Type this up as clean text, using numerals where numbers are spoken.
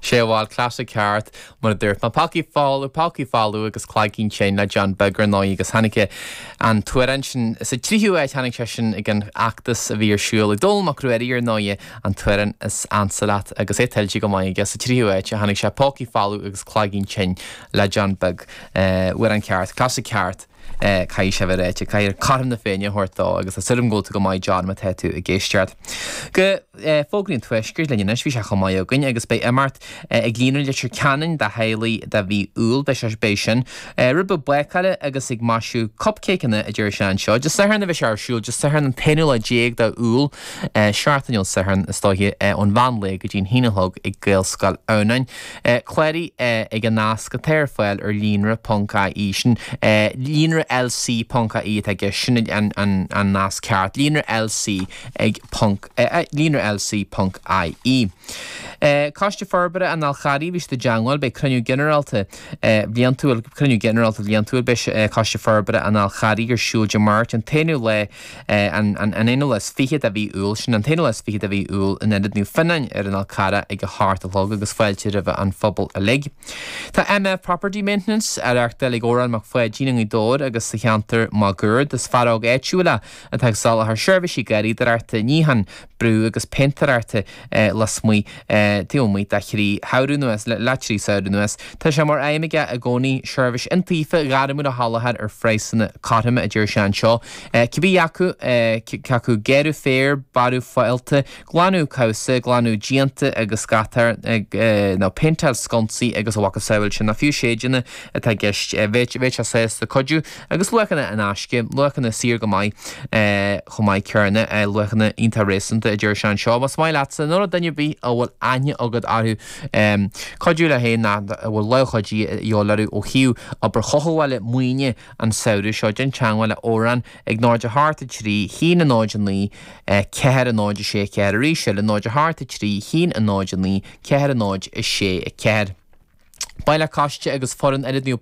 Sé bhuel, cleasa ceart, mar a dúirt mé. Pócaí Folamh, Pócaí Folamh agus Cloigín Tinn le John Beag ar ndóigh agus tháinig an t-amhrán sin sa tríú háit, tháinig sé sin ag an fheachtas a bhí ar siúl ag Dónall Mac Ruairí ar ndóigh, an t-amhrán is ansa leat agus é tuillte go maith aige sa tríú háit a tháinig sé, Pócaí Folamh agus Cloigín Tinn le John Beag. Amhrán ceart, cleasa ceart. Caithfidh sé bheith ráite, caithfear cothrom na Féinne a thabhairt dó agus tá súil agam go bhfuil tú go maith John má tá tú ag éisteacht. Go fógraí an Tuaiscirt linn anois, bhí sé chomh maith againn agus beidh imeacht ag Líonra Leitir Ceanainn do theaghlaigh do mhí Iúil, beidh sé, beidh sin. Rud beag bácála agus ag maisiú cupcéiceanna a deir sé anseo. Dé Sathairn a bheidh sé ar siúl, Dé Sathairn an t-aonú lá déag de Iúil, seachtain ón Satharn is dóiche, ón mheán lae go dtí an haon a chlog ag Gaelscoil Adhamhnáin. Cláraigh ag an nasc atá ar fáil ar líonra ponc ie, sin líonra lc ponc ie atá i gceist, sin an nasc ceart, líonra lc ag ponc, líonra lc ponc ie. Coiste Forbartha an Fháil Charraigh, bhí siad i dteangmháil, beidh cruinniú ginearálta bliantúil, cruinniú ginearálta bliantúil, beidh Coiste Forbartha an Fháil Charraigh ar siúl Dé Máirt an t-aonú lá an aonú lá is fiche de mhí Iúil, sin an t-aonú lá is fiche de mhí Iúil in Ionad Naomh Fionnáin ar an Fhál Carrach ag a hocht a chlog agus fáilte roimh an phobal uilig. Tá MF Property Maintenance á reachtáil ag Odhrán Mac Pháidín i nGaoth Dobhair agus sa cheantar máguaird. Is fear óg áitiúil é atá ag soláthar seirbhísí garraíodóireachta, níocháin, brú agus péintéireachta lasmuigh taobh amuigh de thrí shamhradh anuas, le trí samhradh anuas. Tá sé mar aidhm aige i gcónaí seirbhís iontaofa ghairmiúil a sholáthar ar phraghsanna cothroma, a deir sé anseo. Cibé acu cé acu gearradh féir, bearradh fálta, glanadh cabhsa, glanadh díonta agus scátáir nó péinteáil sconsaí agus a mhacasamhail sin, nó fiú séideanna atá i gceist, bheadh sé sásta cuidiú. Agus luachanna in aisce, luachanna saor go maith chomh maith céanna, luachanna iontach réasúnta, a deir sé anseo. Más maith leatsa, nó le duine ar bith a bhfuil aithne agat orthu, cuidiú leo féin nó a bhfuil lámh chuidithe a dhíobháil orthu ó thaobh obair chothabhála maoine an samhradh seo, déan teagmháil le Odhrán ag 0 8 3 1 0 9 4 0 6 4 arís eile 0 8 3 1 0 9 4 0 6 4. Baile Coiste agus foireann Ionad Naomh.